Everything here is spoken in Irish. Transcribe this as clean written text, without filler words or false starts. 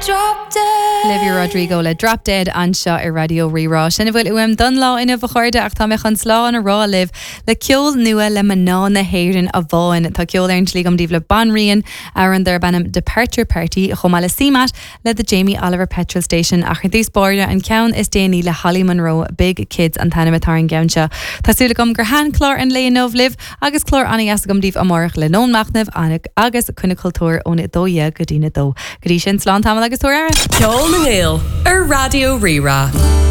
Drop dead. Olivia Rodrigo le Drop Dead anseo ar Raidió Rí-Rá. Sin a bhfuil uaim don lá inniu a chairde ach tá mé chun slán a rá libh le ceol nua le mná na hÉireann amháin. Tá ceol ar an tslí agam daoibh le Banríon, amhrán darb ainm Departure Party, chomh maith le CMAT le The Jamie Oliver Petrol Station ach ar dtús báire an ceann is déanaí le Holly Monroe, Big Kids an t-ainm atá ar an gceann seo. Tá súil agam gur thaitin clár an lae inniu libh agus clár an-dheas agam daoibh amárach le Lón Machnaimh agus Coinne Cultúir ón 12 go dtí'n 2. Go dtí sin, slán tamall agus tabhair aire! Ceol na nGael ar Raidió Rí-Rá.